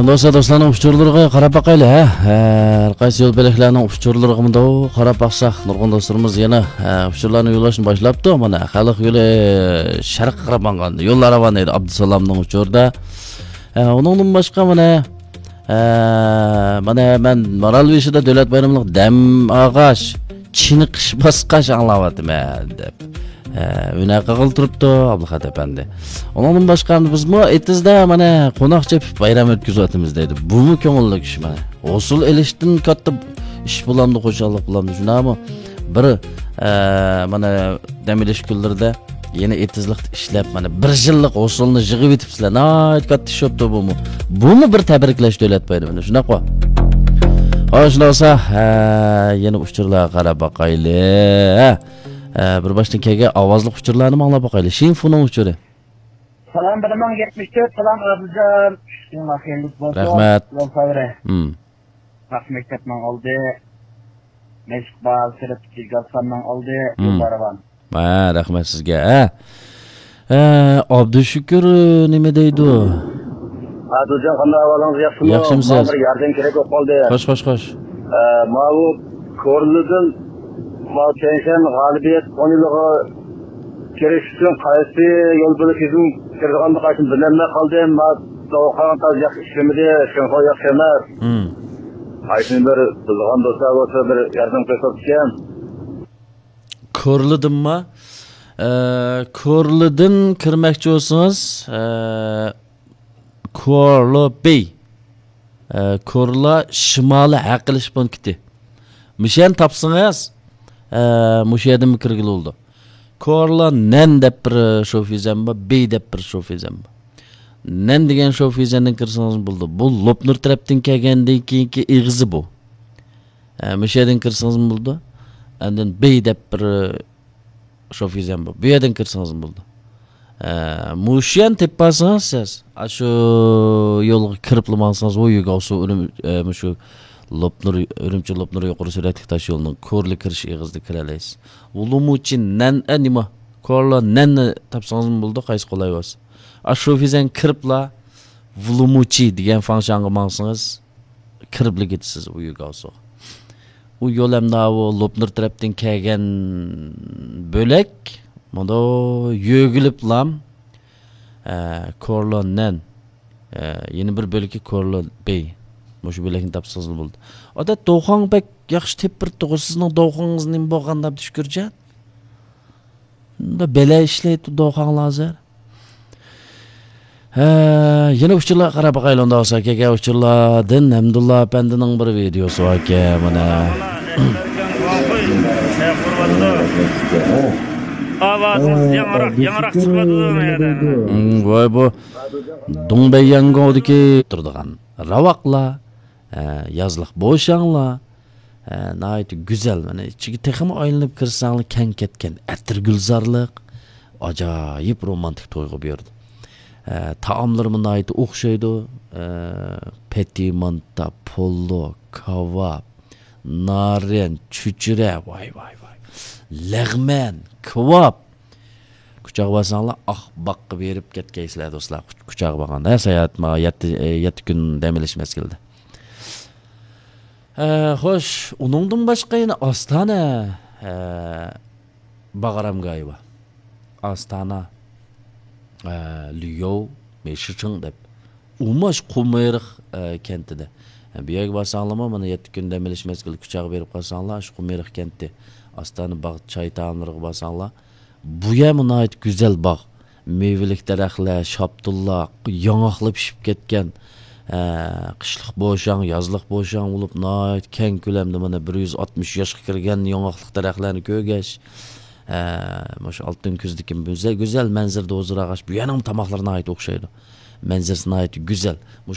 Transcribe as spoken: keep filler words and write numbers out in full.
دوستلار، دوستلارنىڭ ئۇچۇرلىرىغا قاراپ باقايلى، ھە؟ ھەر قايسى يول بۆلەكلەرنىڭ ئۇچۇرلىرىغىمۇ قاراپ باقساق، نۇرغۇن دوستلىرىمىز يەنە، ھە، ئۇچۇرلارنى يوللاشنى باشلاپتۇ. مانا، خەلق يولى شەرققە قاراپ ماڭغان يوللار راۋان ئىدى، ئابدۇسالامنىڭ ئۇچۇرىدا. ھە، ئۇنىڭدىن باشقا، مانا، ھە، مانا، مەن مارالبېشىدا دۆلەت بايرىملىق دەم ئاغاچ، چېنىقىش باسقاچ ئاڭلاۋاتىمەن، دەپ. ھە، ھۈنەر قىلغىلى تۇرۇپتۇ، ئابلىخات ئەپەندى. ئۇنىڭدىن باشقا، بىزمۇ ئېتىزدا، مانا، قوناق چېپىپ بايرام ئۆتكۈزۈۋاتىمىز، دەيدۇ. بۇمۇ كۆڭۈللۈك ئىش، مانا. ھوسۇل ئېلىشتىن كاتتا ئىش بولامدۇ، خۇشاللىق بولامدۇ، شۇنداقمۇ؟ بىر، ئە، مانا، دەم ئېلىش كۈنلىرىدە يەنە ئېتىزلىقتا ئىشلەپ، مانا، بىر يىللىق ھوسۇلنى يىغىۋېتىپسىلەر. ناھايىتى كاتتا ئىش بوپتۇ بۇمۇ. بۇمۇ بىر تەبرىكلەش دۆلەت بايرىمىنى، شۇنداققۇ؟ ھاي، شۇنداق بولسا، ھە، يەنە ئۇچۇرلارغا قاراپ باقايلى. ھە، ھە، بىر باشتىن كەلگەن ئاۋازلىق ئۇچۇرلارنى ئاڭلاپ باقايلى. شىنفۇنىڭ ئۇچۇرى. سالام، بىر مىڭ يەتمىش تۆت، سالام، ئابدۇجان. ئىشىڭلار خەيرلىك بولسۇن. رەھمەت. يول سەۋرى. ھىم. ياخشى مەكتەپنىڭ ئالدى. مەشىق بار، سىرت كىچىك گالستاننىڭ ئالدى. ھىم. يوللار راۋان. ھە، رەھمەت سىزگە. ھە. ھە، ئابدۇشۈكۈر نېمە دەيدۇ؟ ئادىلجان، قانداق ئەھۋالىڭىز، ياخشىمۇ؟ ياخشىمۇ سىز؟ ماڭا بىر ياردەم كېرەك بولۇپ قالدى. خوش، خوش، خوش. ئە، ماۋۇ كورلىدىن ماۋۇ چەنشەن غالىبىيەت ئون يىلىغا كىرىش ئۈچۈن قايسى يول بۆلىكىدىن كىرىدىغانلىقى ئۈچۈن بىلەلمەي قالدىم. ماۋۇ داۋاخانا تازا ياخشى ئىشلىمىدى، شىنخۇا ياخشى ئەمەس. ھىم. قايسىنى بىر بىلىدىغان دوستلار بولسا بىر ياردەم قىلسا ئىكەن. كورلىدىنما؟ ئە، كورلىدىن كىرمەكچى بولسىڭىز، ئە، كورلو بېي. ئە، كورلا شىمالىي ھەق ئېلىش پونكىتى. مۇشۇنى تاپسىڭىز، ئە، مۇشۇ يەردىنمۇ كىرگىلى بولىدۇ. كورلا نەن دەپ بىر شوفىزەن بار، بېي دەپ بىر شوفىزەن بار. نەن دېگەن شوفىزەندىن كىرسىڭىز بولىدۇ. بۇ لوپنۇر تەرەپتىن كەلگەندىن كېيىنكى ئېغىزى بۇ. ئە، مۇشۇ يەردىن كىرسىڭىزمۇ بولىدۇ. ئاندىن بېي دەپ بىر شوفىزەن بار. بۇ يەردىن كىرسىڭىزمۇ بولىدۇ. ئە، مۇشۇ يەرنى تېپىپ بارسىڭىز سىز، ئاشۇ يولغا كىرىپلا ماڭسىڭىز، ۋۇيۈگاۋسۇ ئۈرۈم-، ئە، مۇشۇ لوپنۇر، ئۈرۈمچى لوپنۇر يۇقىرى سۈرئەتلىك تاش يولىنىڭ كورلا كىرىش ئېغىزىدا كىرەلەيسىز. ۋۇلۇمۇچى نەن، ئە، نېمە؟ كورلا نەننى تاپسىڭىزمۇ بولىدۇ، قايسى قولاي بولسا. ئاشۇ شوفىزەن كىرىپلا، ۋۇلۇمۇچى دېگەن فاڭشاڭغا ماڭسىڭىز، كىرىپلا كېتىسىز ئۇ يۈگاۋسوغا. ئۇ يول ئەمدى ئاۋۇ لوپنۇر تەرەپتىن كەلگەن بۆلەك، مانا يۆگىلىپلام، ئە، كورلون نەن، ئە، يەنە بىر بۆلىكى كورلون بېي. مۇشۇ بۆلەكنى تاپسىڭىزلا بولدى. ئادەت دوخاڭ بەك ياخشى تېپىپ بېرىپتىغۇ، سىزنىڭ دوخىڭىز نېمە بولغان دەپ شۈكۈرجان. بەلە ئىشلەيتتى دوخاڭلار ھازىر. ھە، يەنە ئۇچۇرلارغا قاراپ باقايلى، ئۇنداق بولسا. كەلگەن ئۇچۇرلاردىن ھەمدۇللا ئەپەندىنىڭ بىر ۋىدېيوسى باركەن، مانا. ئاۋازىڭىز ياڭراق، ياڭراق چىقىۋاتىدۇ مانا يەردە. ھىم، ۋاي بۇ دۇڭبەيياڭگوڭدىكى تۇرىدىغان راۋاقلار، ھە، يازلىق بوشاڭلار، ھە، ناھايىتى گۈزەل. مانا ئىچىگە تېخىمۇ ئايلىنىپ كىرسەڭلار، كەڭ كەتكەن ئەتىرگۈلزارلىق، ئاجايىپ رومانتىك تۇيغۇ بېرىدۇ. ھە، تائاملىرىمۇ ناھايىتى ئوخشايدۇ. ھە، پەتىمانتا، پولۇ، كاۋاپ، نارىن، چۆچۈرە، ۋاي، ۋاي، ۋاي. لەغمەن، كاۋاپ. كۇچاغا بارساڭلار، ئاق باغقا بېرىپ كەتكەيسىلەر، دوستلار. كۇچاغا بارغاندا، ھە، ساياھەت، ما، يەتتە، ئە، يەتتە كۈن دەم ئېلىش مەزگىلىدە. ئە، خوش، ئۇنىڭدىن باشقا يەنە ئاستانە، ئە، باغ ئارامگاھى بار. ئاستانە، ئە، ليۇ مېشىچىڭ دەپ. ئۇماش قۇمىرىق، ئە، كەنتىدە. ئە، بۇ يەرگە بارساڭلارمۇ، مانا يەتتە كۈن دەم ئېلىش مەزگىلى كۇچاغا بېرىپ قالساڭلار، شۇ قۇمىرىق كەنتى، ئاستانە باغ چاي تائاملىرىغا بارساڭلار، بۇ يەرمۇ ناھايىتى گۈزەل باغ. مېۋىلىك دەرەخلەر، شاپتۇللار، ياڭاقلار پىشىپ كەتكەن. ھە، قىشلىق بوشاڭ، يازلىق بوشاڭ بولۇپ، ناھايىتى كەڭ كۆلەمدە، مانا، بىر يۈز ئاتمىش ياشقا كىرگەن ياڭاقلىق دەرەخلەرنى كۆرگەچ، ھە، مۇشۇ ئالتۇن كۈزدىكى گۈزەل، گۈزەل مەنزىرىدە ھۇزۇر ئالغاچ، بۇ يەرنىڭ تاماقلىرى ناھايىتى ئوخشايدۇ. مەنزىرىسى ناھايىتى گۈزەل.